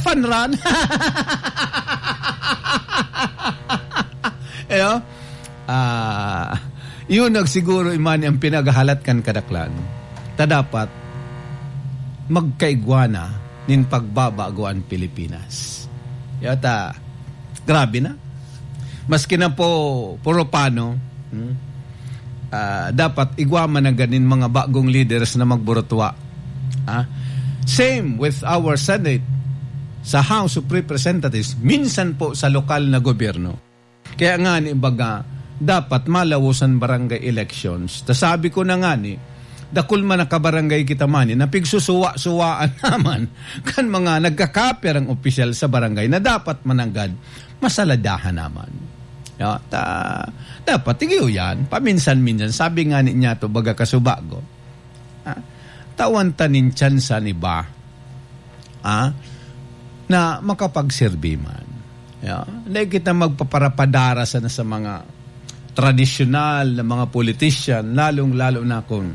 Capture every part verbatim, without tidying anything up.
Fun run. Iyo? Ah, yun nagsiguro, iman ang pinaghahalat kan kadaklan. Ta dapat magkaigwa na nin pagbabago an Pilipinas. Yata, grabe na. Maski na po, puro pano, hmm? Ah, dapat igwa man na ganin mga bagong leaders na magburutwa. Ah, same with our Senate, sa House of Representatives, minsan po sa lokal na gobyerno. Kaya nga ni baga, dapat malawos an barangay elections. Ta sabi ko na nga ni, dakul man nakabarangay kita man, eh, napigsusuwa-suwaan naman kan mga nagkakapirang opisyal sa barangay na dapat mananggad masaladahan naman. Ya, ta, dapat tigiyo yan. Paminsan-minsan, sabi nga ni niya to, baga kasubago. Ah, tawan ta nin tsansa ni ba? Ah, na makapagserbi man. Ya, hindi kita magpaparapadara sana sa mga tradisyonal na mga politician, lalong-lalo na kung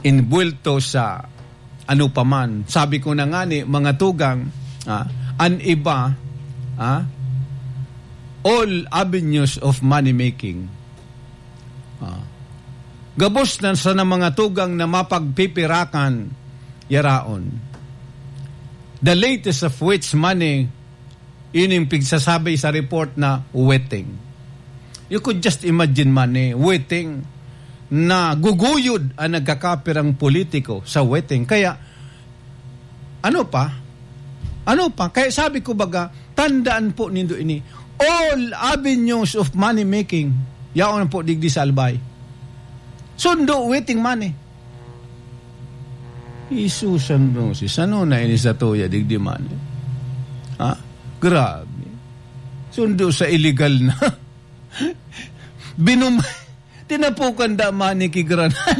inbuwelto sa ano pa man. Sabi ko na nga ni, mga tugang, ah, an iba, ah, all avenues of money making. Ah, gabos na sana mga tugang na mapagpipirakan yaraon. The latest of which money, yun yung pigsasabi sa report na waiting. You could just imagine money, waiting, na guguyod ang nagkakapirang politiko sa waiting. Kaya, ano pa? Ano pa? Kaya sabi ko baga, tandaan po nindo ini. All avenues of money making, yaon po digdi sa Albay. Sundo, waiting money. Jesus and Moses, ano na ini sa tuya, digdi man? Ha? Grabe. Sundo sa illegal na. Binum-, tinapukan da man ni kigranan.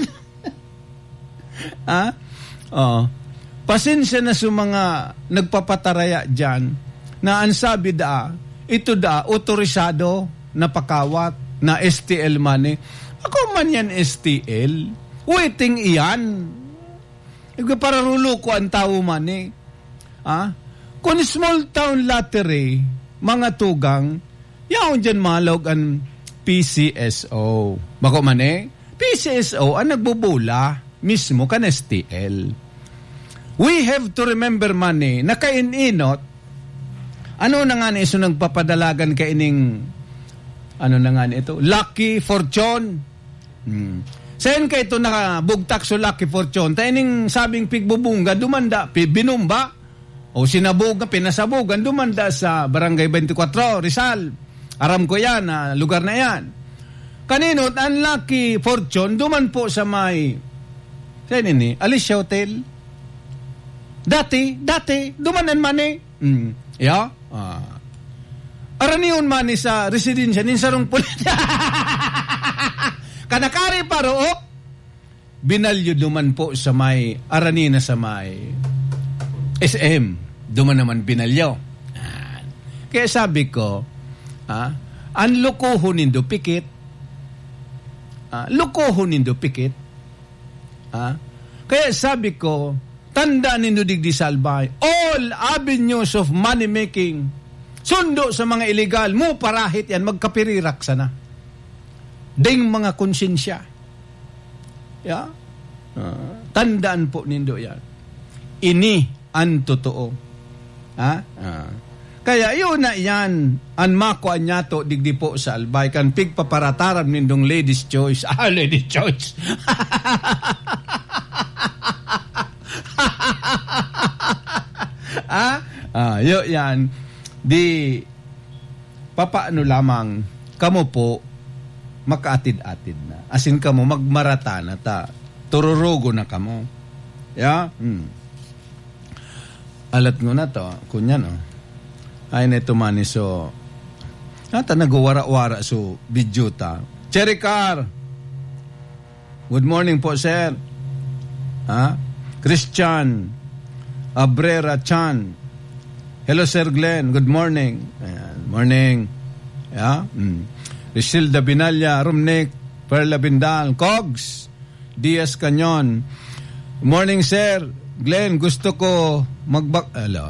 Ha? Oh. Pasensya na sa mga nagpapataraya dyan na ang sabi da, ito da, otorisado na pakawat na S T L money. Ako man yan S T L. Waiting iyan. Igwa para ruluko ang tawo man eh. Ah? Kung small town lottery, mga tugang, yaon dyan malog ang P C S O. Bako man eh, P C S O ang nagbobola mismo kan S T L. We have to remember man eh, na kain-inot, ano na nga ni iso nagpapadalagan kaining, ano na nga ni ito, Lucky Fortune. Hmm. Saen ka ito nakabugtak so Lucky Fortune? Ta ining sabing pigbubungga, dumanda, pi-, binumba. O sinabog, pinasabogan, dumanda sa Barangay twenty-four, Rizal. Aram ko yan, ah, lugar na yan. Kaninot, ang Lucky Fortune, duman po sa may, saen ini? Alicia Hotel. Dati, dati, duman ang money. Mm. Ya? Ah. Aranion man ni sa residensya nin sarong pulit. Kanakari pa, Rook. Binalyo duman po sa may, arani na sa may S M. Duman naman binalyo. Ah. Kaya sabi ko, ah, ang lukuhon nindo pikit. Ah, lukuhon nindo pikit. Ha? Kaya sabi ko, tandaan nindo digdi sa Albay, all avenues of money making, sundo sa mga illegal, mo parahit yan, magkapirirak sana. Ding mga konsensya. Ya? Ah, tandaan po nindo yan. Ini an totoo. Ha? Ah. Kaya iyo na iyan, an makua niyato digdi po sa Albay, kan pigpaparataram nindong ladies choice. Ah, ladies choice. Ah? Ah, iyo yan. Di, papaano lamang, kamo po, makaatid-atid na. Asin kamo, magmarata na ta. Tururugo na kamo. Ya? Hmm. Alat ngona to, kunyan, oh. Ay, neto man, so, ata nagwawara-wara so video ta. Cherry Car! Good morning po, sir. Ha? Christian Abrera Chan. Hello, Sir Glenn. Good morning. Ayan, morning. Yeah? Mm. Richilda Binalya, Rumnik, Perla Bindal, Cogs, Diaz Canyon. Morning, Sir Glenn. Gusto ko magbak-, alo,